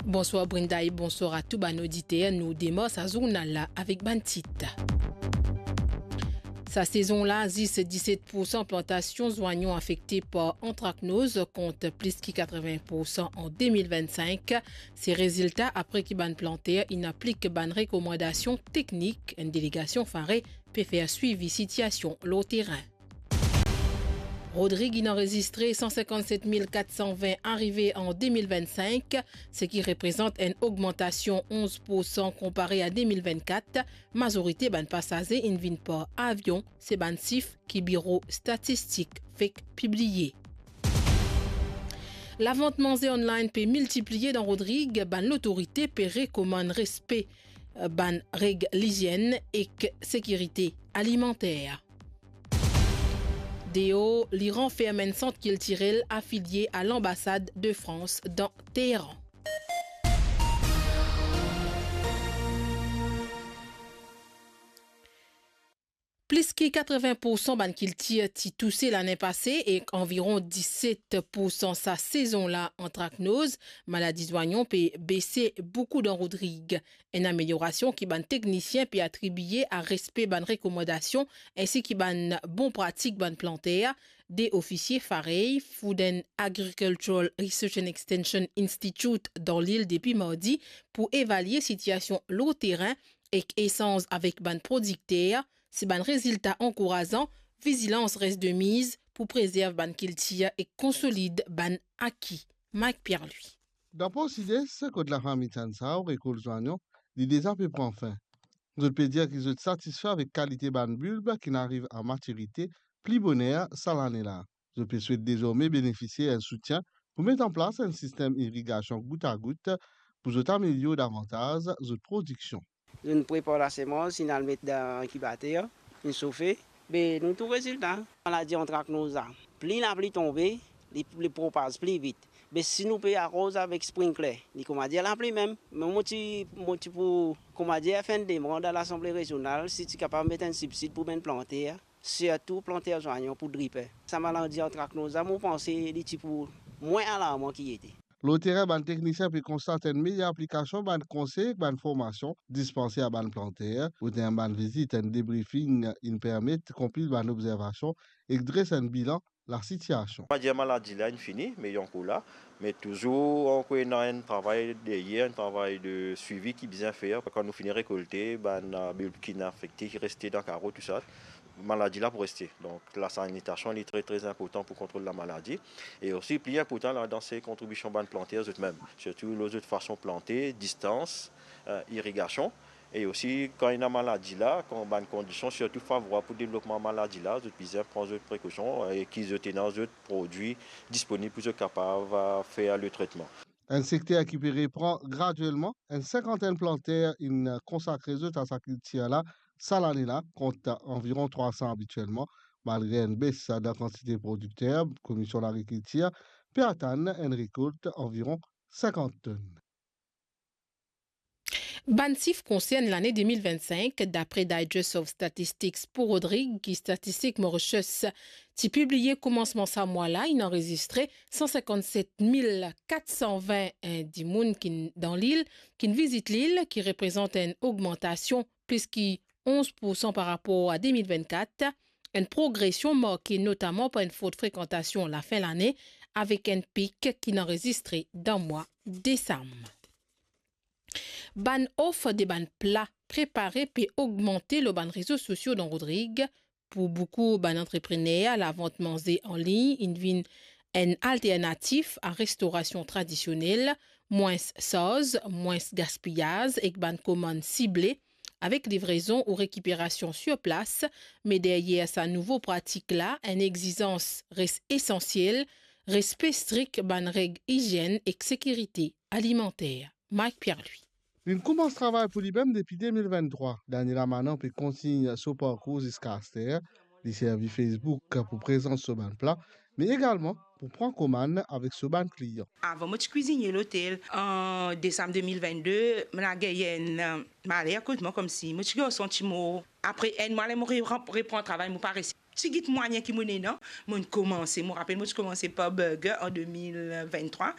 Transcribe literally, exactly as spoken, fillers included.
Bonswar Brenda e bonswar a tou bann oditer. Nou demar sa zournal la avek bann tit. Sa sezon la, zis diset poursan plantasion zwayon afekte par antraknoz, kont plis ki katreven poursan an de mil vinn-sink. Se rezilta apre ki bann planter inn aplik bann rekomandasion teknik enn delegasion Fare pe fer swivi sitiasion lor terin. Rodrig inn anrezistre san sinkant-set mil kat san vin arive an de mil vinn-sink, seki reprezant enn ogmantasion onz poursan konpare a de mil vinn-kat. Mazorite bann pasaze inn vinn par avion, se bann sif ki Biro Statistik fek pibliye. Lavant manze online pe miltipliye dan Rodrig, bann lotorite pe rekomann respe, eh, bann reg lizienn ek sekirite alimanter. Deor, Liran ferm enn sant kiltirel afilie a lanbasad de Frans dan Teheran. Plis ki katreven poursan bann kiltir ti touse lane pase ek anviron diset poursan sa sezon la antraknoz, maladi zwayon pe bese boukou dan Rodrig. Enn ameliorasion ki bann teknisien pe atribiye a respe bann rekomandasion ensi ki bann bon pratik bann planter. De ofisie Fare, Food and Agricultural Research and Extension Institute dan lil depi mardi pou evalie sitiasion lor terin ek esanz avek bann prodikter. Si bann rezilta ankourazan, vizilans res de miz pou prezerv bann kiltir ek konsolid bann aki. Mike Pierre-Louis. Dan Por Sides, kot lafami Tianzhao rekolt zwayon, li deza pe pran fin. Zot pe dir ki zot satisfe avek kalite bann bilb ki'nn ariv a matirite pli boner sa lane la. Zot pe swet dezorme benefisie enn soutien pou met an plas enn sistem irigasion gout a gout pou zot amelior davantaz zot prodiksion. Zot inn prepar lasemans, inn al met dan inkibater, inn sofe, be nou trouv rezilta. Maladi antraknoz la, pli lapli tonbe, li, li propaz pli vit. Be si nou pe aroz avek sprinkler, li koumadir lapli mem. Me mo ti, mo ti pou, koumadir, fer enn demann a Lasanble Rezional si ti kapav met enn sibsid pou bann planter, sirtou planter zwayon pou driper. Sa maladi antraknoz la, mo panse li ti pou mwin alarman ki ete. Lor terin, bann teknisien pe konstat enn meyer aplikasion bann konsey ek bann formasion dispanse a bann planter. Kot enn bann vizit, enn debriefing inn permet konpil bann obzervasion ek dres enn bilan lasitiasion. Koumadir maladi la inn fini, me li ankor la. Me touzour ankor ena enn travay deryer, enn travay de swivi ki bizin fer. Kan nou fini rekolte, bann, eh, bilb ki'nn afekte, ki reste dan karo, tousala, maladi la pou reste. Donk, lasanitasion, li tre, tre inportan pou kontrol lamaladi. E osi, pli inportan ladan, se kontribision bann planter zot mem, sirtou lor zot fason plante, distans, eh, irigasion. E osi, kan ena maladi la, kan bann kondision sirtou favorab pou devlopman maladi la, zot bizin pran zot prekosion, eh, e ki zot ena zot prodwi disponib pou zot kapav, eh, fer le tretman. Enn sekter ki pe repran gradielman, enn sinkantenn planter inn konsakre zot a sa kiltir la sa lane la, kont anviron trwa san abitielman. Malgre enn bes dan kantite prodikter, Komisyon Lagrikiltir pe atann enn rekolt anviron sinkant tonn. Bann sif konsern lane de mil vinn-sink, dapre Digest of Statistics pou Rodrig, ki Statistik Mauritius ti pibliye koumansman sa mwa la, inn anrezistre san sinkant-set mil kat san vin dimoun ki'nn dan lil, ki'nn vizit lil, ki reprezant enn ogmantasion plis ki onz poursan par rapor a de mil vinn-kat, enn progresion marke notaman par enn for frekantasion lafin lane, avek enn pik ki'nn anrezistre dan mwa desam. Bann of de bann pla prepare pe ogmante lor bann rezo sosio dan Rodrig. Pou boukou bann antreprener, lavant manze an lign inn vinn enn alternatif a restorasion tradisionel, mwins sarz, mwins gaspiyaz ek bann komann sible, avek livrezon ou rekiperasion sir plas. Me deryer sa nouvo pratik la, enn egzizans res esansiel, respe strik bann reg izienn ek sekirite alimanter. Mike Pierre-Louis. Li'nn koumans travay pou limem depi de mil vinn-trwa. Daniela Manan pe kontign so parkour ziska aster. Li servi Facebook pou prezant so bann pla, me egalman pou pran komann avek so bann klian. Avan, mo ti kwizinie lotel. An desam de mil vinn-de, mo la gagn enn, eh, maler kot mwa, koumsi mo ti gagn santi mor. Apre enn mwa, ler mo re-, repran travay, mo pa res Ti git mwayin ki mo ena, mo'nn koumanse, mo rapel mo ti koumanse par burger an de mil vinn-trwa.